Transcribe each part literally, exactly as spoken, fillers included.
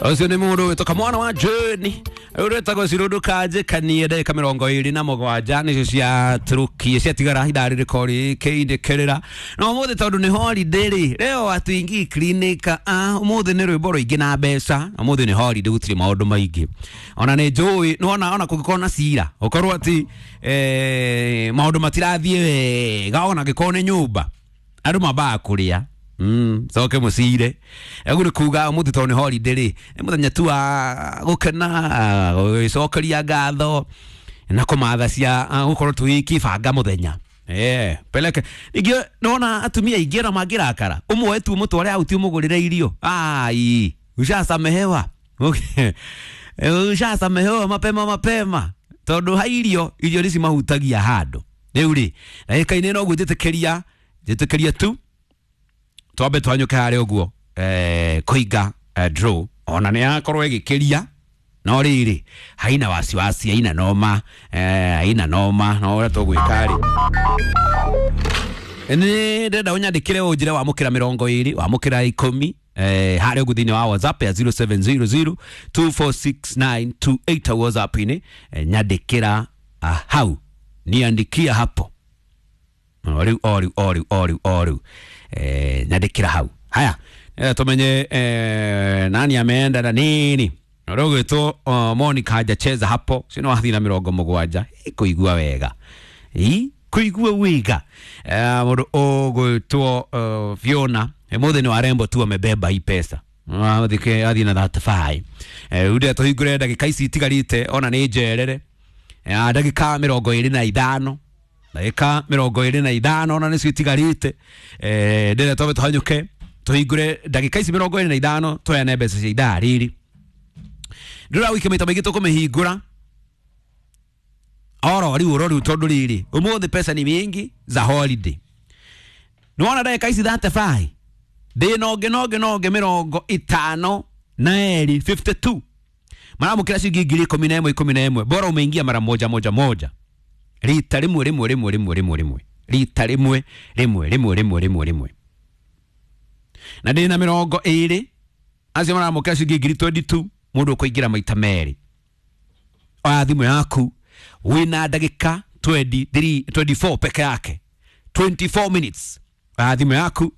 Ũcio nĩ mũndũ wĩtwo mwana wa Jane ũretagwo Cirũndũ Kanjĩkanie. Ndagĩka mĩrongo ĩrĩ na mũgwanja nĩcio ciatũrũkie ciatigara ithaa rĩrĩko rĩkĩinĩkĩrĩra. Na ũmũthĩ tondũ nĩ holiday rĩ, leo hatuingii clinic. Ah, ũmũthĩ nĩ rwĩmbo rũingĩ na mbeca. Ũmũthĩ nĩ holiday, gũtirĩ maũndũ maingĩ. Ona nĩ njũĩ nĩwona ona kũngĩkorwo na cira ũkorwo atĩ eh, maũndũ matirathiĩ wega, ona angĩkorwo nĩ nyũmba andũ mambaga kũrĩa Mm, coke mũcire. Ũguo nĩ kuga ũmũthĩ tondũ nĩ holiday rĩ, nĩ mũthenya tu wa gũkena, gwĩcokeria ngatho na kũmatha cia gũkorwo tũgĩkĩbanga mũthenya. Eh, peleke ningĩ nona atumia aingĩ ona mangĩrakara ũmwe tu mũtware out ũmũgũrĩre irio, ai, ushasamehewa. Okay. Ushasamehewa mapema mapema tondũ ha irio irio nĩ cimahutagia handũ. Rĩu rĩ, ndagĩka-inĩ no ũguo njĩtĩkĩria njĩtĩkĩria tu twambe twanyũke harĩa ũguo eh, kũinga eh, draw ona nĩ yakorwo ĩgĩkĩria no rĩrĩ haina wasiwasi, haina noma, eh, haina noma. No ũrĩa tũgwĩka rĩ, nĩ ndĩrenda ũnyandĩkĩre ũnjĩre wamũkĩra mĩrongo ĩrĩ, wamũkĩra ikũmi, eh, harĩa ũguo thĩinĩ wa WhatsApp ya zero seven zero zero two four six nine two eight. WhatsApp-inĩ eh, nyandĩkĩra ah, hau, niandikia hapo o rĩu o rĩu o rĩu o rĩu o rĩu, eh, nyandĩkĩra hau. Haya, eh, tumenye eh, nani ameenda na nini. Ũrĩa ũgwĩtwo uh, Monica hajacheza hapo sino wathiĩ na mĩrongo mũgwanja. Ĩ, kũigua wega, ĩ kũigua wega. Eh, mũndũ ũgwĩtwo uh, Fiona mũthĩ nĩ warembo tu amebeba hii pesa, athike athiĩ na thirty-five. Eh, rĩu ndĩrenda tũhingũre ndagĩka ici itigarĩte ona nĩ njerere. Eh, ndagĩka mĩrongo ĩrĩ na ithano, ndagĩka mĩrongo ĩrĩ na ithano ona nĩcio itigarĩte. eh, ndĩrenda twambe tũhanyũke tũhingũre ndagĩka ici mĩrongo ĩrĩ na ithano tũheane mbeca cia ithaa rĩrĩ. Ndĩra wiki maita maingĩ tũkũmĩhingũra oro rĩu oro rĩu tondũ rĩrĩ ũmũthĩ pesa ni mingi za holiday. Nĩwona ndagĩka ici thirty-five ndĩ nonge nonge nonge mĩrongo ĩtano na eri fifty-two maramũkĩra ciringi ngiri ikũmi na ĩmwe ikũmi na ĩmwe. Bora umeingia mara moja moja moja, rita rĩmwe rĩmwe rĩmwe rĩmwe rĩmwe rĩmwe, rita rĩmwe rĩmwe rĩmwe rĩmwe rĩmwe rĩmwe. Na ndĩ na mĩrongo ĩrĩ acio maramũkĩra ciringi ngiri twenty-two. Mũndũ ũkũingĩra maita merĩ, oya thimũ yaku, wĩna ndagĩka twenty-three twenty-four peke yake, twenty-four minutes. Oya thimũ yaku,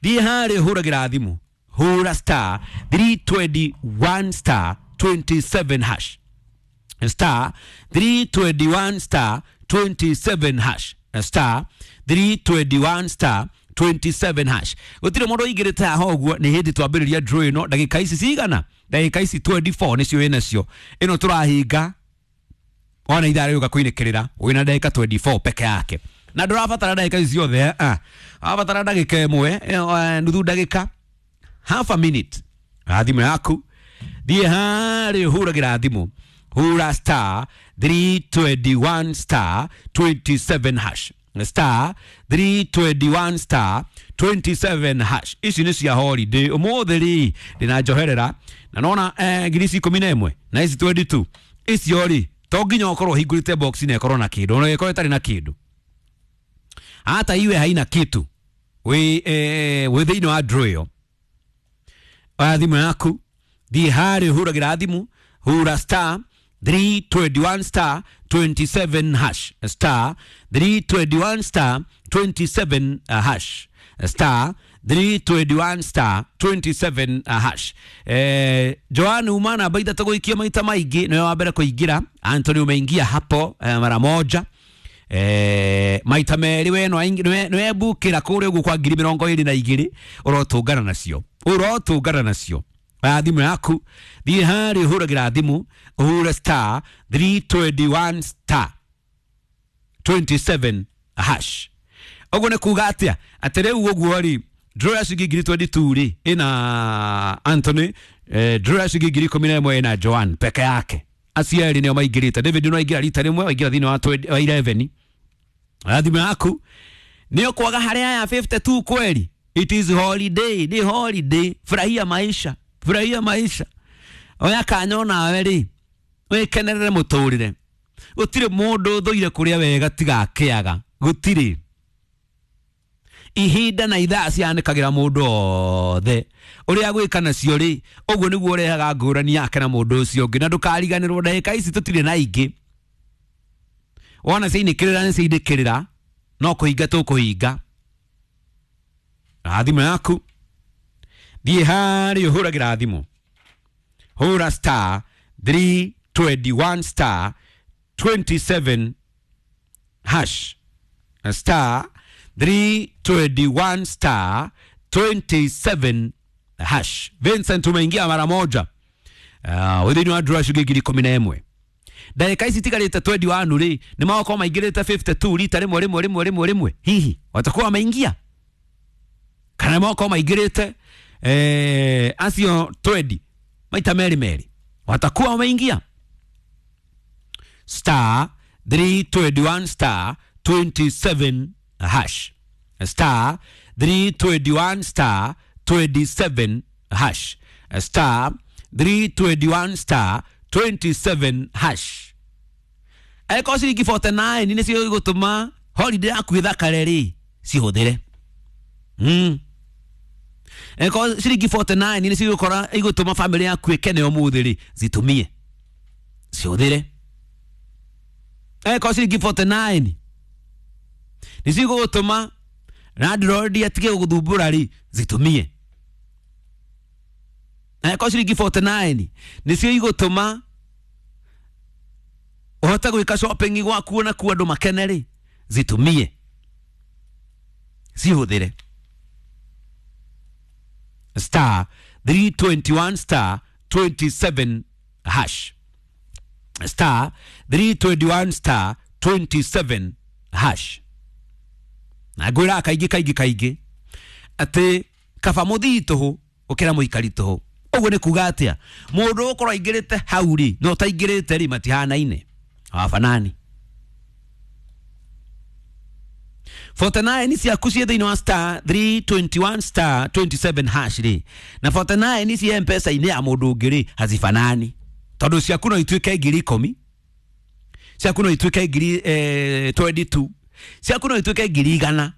thiĩ harĩa hũragĩra thimũ, hũra star three twenty-one star twenty-seven hash, star three twenty-one star twenty-seven hash, star three twenty-one star twenty-seven hash. Gũtirĩ mũndũ ũingĩrĩte haha ũguo nĩ hĩndĩ twambĩrĩria draw ĩno. Ndagĩka ici cigana? Ndagĩka ici twenty-four nĩcio wĩnacio. Ĩno tũrahinga ona ithaa rĩũka kũinĩkĩrĩra, wĩna ndagĩka twenty-four peke yake na ndũrabatara ndagĩka ici ciothe. Ah, ũrabatara ndagĩka ĩmwe, eh, nuthu ndagĩka, half a minute. Oya thimũ yaku, thiĩ harĩa ũhũragĩra thimũ, hũra star three twenty-one star twenty-seven hash, star three twenty-one star twenty-seven hash. Ici nĩ cia holiday ũmũthĩ rĩ, ndĩna njoherera na nona eh, ngiri ici ikũmi na ĩmwe na ici twenty-two icio rĩ, to nginya ũkorwo ũhingũrĩte box na ĩkorwo na kĩndũ, ona ĩkorwo ĩtarĩ na kĩndũ, hata iwe haina kitu, wĩ eh, wĩ thĩinĩ wa draw ĩyo. Oya thimũ yaku, thiĩ harĩa ũhũragĩra thimũ, hũra star three twenty-one star twenty-seven hash, star three twenty-one star twenty-seven uh, hash, star three twenty-one star twenty-seven uh, hash. eh, Joan uma namba ithatũ gũikia maita maingĩ nĩwe wa mbere kũingĩra. Anthony umeingia hapo eh, mara moja, eh, maita merĩ. We nĩwembukĩra kũrĩa ũguo kwa ngiri mĩrongo ĩrĩ na igĩrĩ. Ũrotũngana nacio, ũrotũngana nacio. Oya thimũ yaku, thiĩ harĩa ũhũragĩra thimũ, ũhũre star three twenty-one star twenty-seven hash. Ũguo nĩ kuga atĩa? Atĩ rĩu ũguo rĩ, draw ya ciringi ngiri twenty-two rĩ ĩna Anthony, eh, draw ya ciringi ngiri ikũmi na ĩmwe ĩna Joan peke yake. Acio erĩ nĩo maingĩrĩte. David no aingĩra rita rĩmwe, waingĩra thĩinĩ wa twenty wa eleven. Oya thimũ yaku, nĩ ũkwaga harĩa ya fifty-two kweli. It is holiday, ni holiday, furahia maisha, furahia maisha. Oya kanya onawe rĩ wĩkenerere mũtũrĩre. Gũtirĩ mũndũ ũthũire kũrĩa wega tiga akĩaga, gũtirĩ. Ihinda na ithaa cianĩkagĩra mũndũ othe ũrĩa gwĩka nacio rĩ, ũguo nĩguo ũrehaga ngũrani yake na mũndũ ũcio ũngĩ. Na ndũkariganĩrwo ndagĩka ici tũtirĩ na ingĩ, wona ciainĩkĩrĩra nĩ ciainĩkĩrĩra, no kũhinga tũkũhinga. Na thimũ yaku thiĩ harĩa ũhũragĩra thimũ, hũra star three twenty-one star twenty-seven hash, star three twenty-one star twenty-seven hash. Vincent umeingia mara moja. Uh, within wa draw ciringi ngiri ikũmi na ĩmwe. Ndagĩka ici itigarĩte twenty-one rĩ, nĩ magokorwo maingĩrĩte fifty-two rita rĩmwe rĩmwe rĩmwe rĩmwe rĩmwe. Hihi watakuwa wameingia kana magokorwo maingĩrĩte eh, acio twenty maita merĩ merĩ, watakuwa wameingia. Star three twenty-one star twenty-seven hash, star three twenty-one star twenty-seven hash, star three twenty-one star twenty-seven hash. Eko ciringi forty-nine nĩcio igũtũma holiday yaku ĩthakare rĩ, cihũthĩre. Mm. Eko ciringi forty-nine nĩcio igũkora igũtũma family yaku ĩkene ũmũthĩ rĩ, zitumie, cihũthĩre. Eko ciringi forty-nine nĩcio igũtũma landlord atige gũgũthumbũra rĩ, zitumie. Eko ciringi forty-nine nĩcio igũtũma ũhote gwĩka shopping gwaku na kuo andũ makene rĩ, zitumie, cihũthĩre. Star three twenty-one star twenty-seven hash, star three twenty-one star twenty-seven hash. Na ngwĩraga kaingĩ kaingĩ kaingĩ atĩ kaba mũthii tũhũ gũkĩra mũikari tũhũ. Ũguo nĩ kuga atĩa? Mũndũ ũgũkorwo aingĩrĩte hau rĩ na ũtaingĩrĩte rĩ matihanaine, hawafanani. forty-nine ciaku ciĩ thĩinĩ wa star three twenty-one star twenty-seven hash rĩ, na forty-nine ciĩ M-Pesa-inĩ ya mũndũ ũngĩ rĩ, hazifanani. Tondũ ciaku no ituĩke ngiri ikũmi, ciaku no ituĩke ngiri eh, twenty-two, ciaku no ituĩke ngiri igana,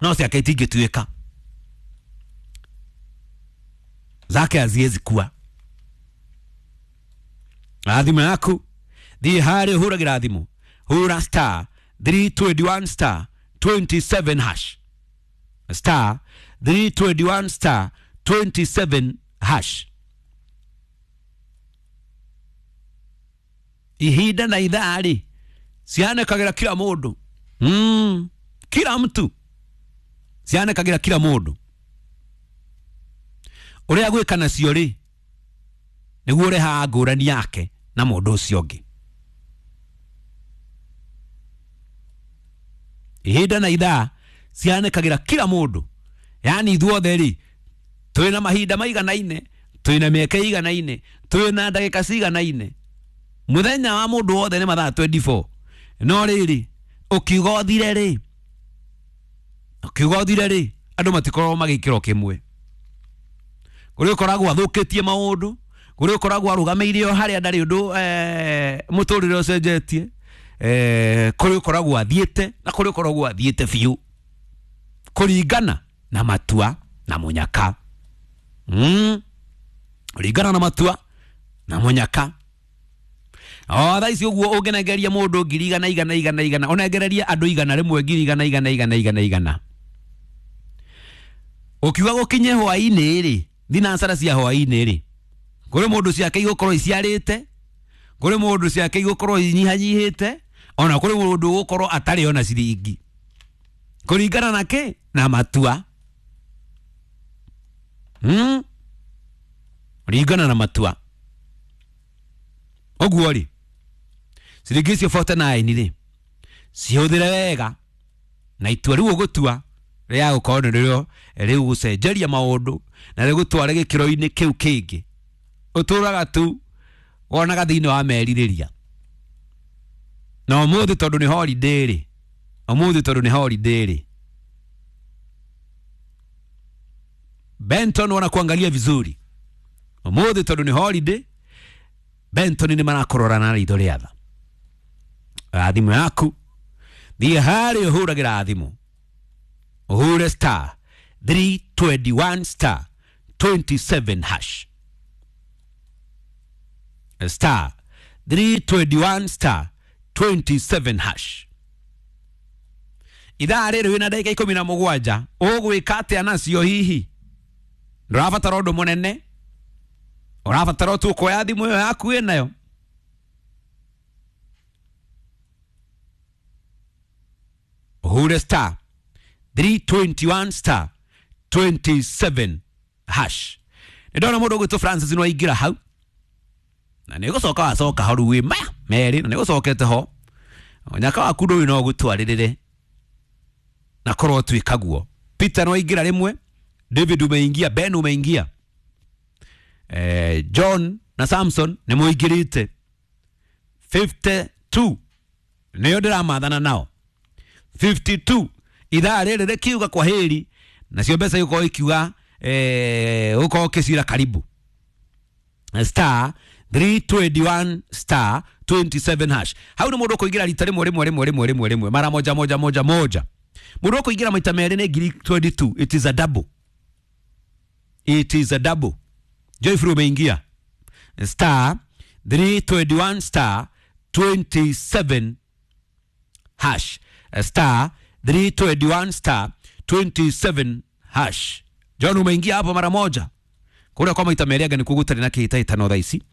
no ciake itingĩtuĩka, zake haziwezi kuwa. Thimũ yaku thiĩ harĩa ũhũragĩra thimũ, hũra star three twenty-one star twenty-seven hash, star three twenty-one star twenty-seven hash. Ihinda na ithaa rĩ cianĩkagĩra kila mũndũ. Mm, kila mtu cianĩkagĩra kila mũndũ. Ũrĩa gwĩka nacio rĩ nĩguo ũrehaga ngũrani yake na mũndũ ũcio ũngĩ. Ihinda na ithaa cianĩkagĩra kila mũndũ. Yaani ithuothe rĩ twĩna mahinda maiganaine, twĩna mĩeke ĩiganaine, twĩna ndagĩka ciganaine. Mũthenya wa mũndũ wothe nĩ mathaa twenty-four. No rĩrĩ ũkiuga ũthire rĩ, ũkiuga ũthire rĩ, andũ matikoragwo magĩkĩro kĩmwe. Kũrĩ ũkoragwo athũkĩtie maũndũ, kũrĩ ũkoragwo arũgamĩire o harĩa ndarĩ ũndũ eh, mũtũrĩre ũcenjetie, eh, kũrĩ ũkoragwo athiĩte na kũrĩ ũkoragwo athiĩte biũ, kũringana na matua na mũnyaka. Mm. Kũringana na matua na mũnyaka. O thaa ici ũguo ũngĩnengeria mũndũ ngiri igana igana igana igana, ũnengererie andũ igana rĩmwe ngiri igana igana igana igana igana, ũkiuga gũkinye hwaĩ-inĩ rĩ, thinacara cia hwaĩ-inĩ rĩ, kũrĩ mũndũ ciake igũkorwo iciarĩte, kũrĩ mũndũ ciake igũkorwo inyihanyihĩte, ona kũrĩ mũndũ ũgũkorwo atarĩ ona ciringi, kũringana na kĩ? Na matua. Mm? Kũringana na matua. Ũguo rĩ, ciringi icio forty-nine rĩ, cihũthĩre wega na itua rĩu ũgũtua rĩa gũkorwo nĩ rĩo rĩu gũcenjeria maũndũ na rĩgũtware gĩkĩro-inĩ kĩu kĩngĩ ũtũraga tu wonaga thĩinĩ wa merirĩria. Na ũmũthĩ tondũ nĩ holiday rĩ, ũmũthĩ tondũ nĩ holiday rĩ, Benton wanakuangalia vizuri. Ũmũthĩ tondũ nĩ holiday, Benton nĩ marakorora na ritho rĩa tha. Thimũ yaku thiĩ harĩa ũhũragĩra thimũ, Uhure star three twenty-one star twenty-seven hash. Star three twenty-one star twenty-seven hash. Ithaa rĩrĩ wĩna ndagĩka ikũmi na mũgwanja ũgwĩka atĩa nacio hihi? Ndũrabatara ũndũ mũnene, ũrabatara tu kuoya thimũ ĩyo yaku wĩnayo ũhure star three twenty-one star twenty-seven hash. Nĩ ndona mũndũ ũgwĩtwo Francis nĩ waingĩra hau na nĩ gũcoka wacoka hau rĩu wĩ maya merĩ na nĩ gũcokete ho nyaka waku ndũĩ no gũtwarĩrĩre na korwo twĩka guo. Peter nĩ waingĩra rĩmwe, David umeingia, Ben umeingia, eh, John na Samson nĩ mũingĩrĩte. Fifty-two nĩyo ndĩramathana nao. Fifty-two ithaa rĩrĩ rĩkiuga kwa heri nacio mbeca igũkorwo ikiuga eh, ũkorwo ũkĩcira karibu. Star three twenty-one star twenty-seven hash. Hau nĩ mũndũ ũkũingĩra rita rĩmwe rĩmwe rĩmwe rĩmwe rĩmwe rĩmwe mara moja moja moja moja. Mũndũ ũkũingĩra maita merĩ nĩ ngiri twenty-two. It is a double. It is a double. Joyful umeingia. Star three twenty-one star twenty-seven hash. Star three twenty-one star twenty-seven hash. John umeingia hapo mara moja. Kura kwa maita merĩ anga nĩ kuo gũtarĩ na kĩhĩtahĩtano thaa ici.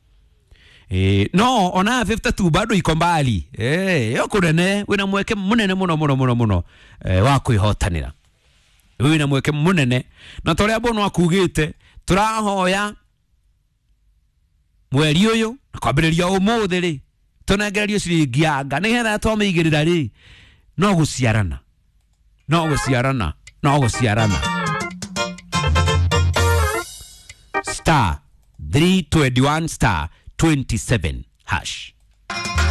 Eh, no ona fifty-two bado iko mbali. Eh, yo kũnene wĩna mweke mũnene mũno mũno mũno mũno eh, wa kwĩhotanĩra. Wĩna mweke mũnene na torĩa Bono akugĩte tũrahoya mweri ũyũ na kwambĩrĩria ũmũthĩ rĩ tũnengererio ciringi anga nĩgetha twamĩigĩrĩra rĩ no gũciarana no gũciarana no gũciarana. Star three twenty-one star twenty-seven hash.